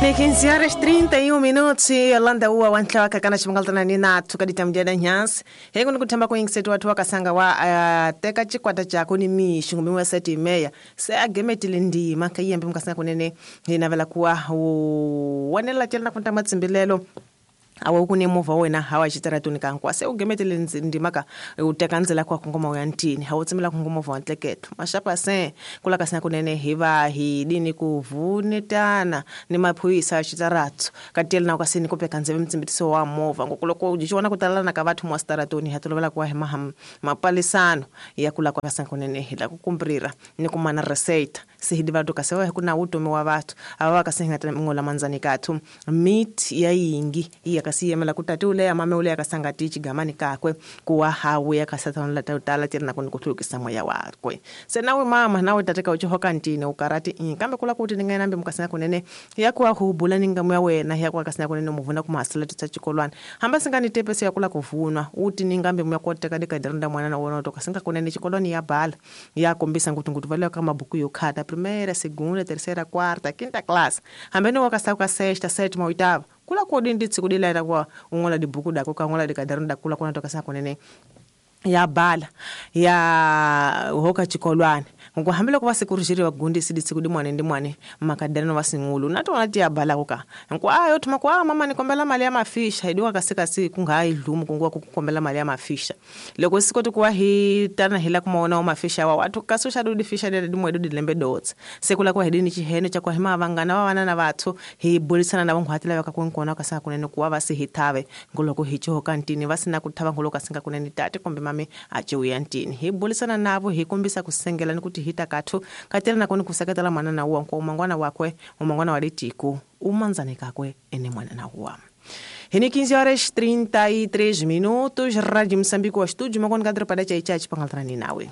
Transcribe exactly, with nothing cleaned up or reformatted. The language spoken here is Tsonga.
Ni quinze horas trinta e um minutos e Yolanda uwa wantla wakakana chimangaltana ni nathu kaditamjada nyansi hengu nikuthamba kuingisetu watu wakasanga wa uh, teka chikwata chako ni mishu ngumi seti meya se agemetile ndima kayembe mukasanga kunene hinavela kuwa wanela chelna kunta matsimbilelo awa kune movha wena hawa chitaratuni kankwa se ugemetele ndimaka uteka ndzela kwa kongoma ya ntini hawu tsimela kongoma movha ntleketo mashapa se kula kasina kunene hiva hi dini kuvunetana ni maphuyisa ya chitaratso katiyela na kasini kupeka ndzeve mtsimbitiso wa movha ngokuloko jichiwana kutalana ka vathu mwa sitaratuni hatolovela kwa hema mapalisano ya kula kwa kasina kunene hila kukumbrira ni kumana receita sihidi vatu kasewa hikuna utomi wa vathu ava vakasinga ngola manzani kathu meat ya yingi iya kasiyemela kutati ule ya mame ule yakasangati chigamani kakwe kuwa hawe yakasatana tala tena kuni kuthulukisa moya wakwe senawe mama nawe tateka uchihoka ntine ukarati in kambe kula kuti ningainambe mukasina kunene yakuwa hubula ningamu ya wena yakuwa kasina kunene muvuna kumasala tutsa chikolwana hamba singani tepese yakula kuvunwa uti ningambe muyakoteka dikadiranda mwana na wona toka singa kunene chikolwani ya bala yakombisa ngutu ngutu vale kama buku yokhata primeira, segunda, terceira, quarta, quinta classe hambeni wakasauka sexta, sétima, oitava kula kodi nditsi kudilaita kwa ungola dibuku dako kangola dikadarunda kula kuna toka sana kunene ya bala ya hoka chikolwane ngokuhambela kuva sikurishiri vagundisi ditsi kudi mwane ndi mwane makadarano vasingulu natona ti ya bala kuka nku ayo thuma ku a mama nikombela mali ya mafisha idiwa kasikasi kungayi dlumu kunguwa kukombela mali ya mafisha loko sikoti kuwa hi tana hila kumaona wa mafisha wa watu kasusha dudi fisha dede dimwe dudi lembe dots sekula kwa hidini chiheno cha kwa hima vangana wa vana na vathu hi bulisana na vanghwatela vakakunkona kasanga kunene kuwa vasi hitave ngoloko hicho kantini vasina kuthava ngoloko kasinga kunene tate kombe mame achiuya ntini hi bulisana navo hi kombisa kusengela ni kuti hita kathu katela nakoni kusaketela mwana na uwa nko umangwana wakwe umangwana wa litiku umanzane kakwe ene mwana na uwa. Hini quinze horas trinta e três minutos, Rádio Moçambique, o estúdio, makoni kadro pada chai chai chipangaltrani nawe.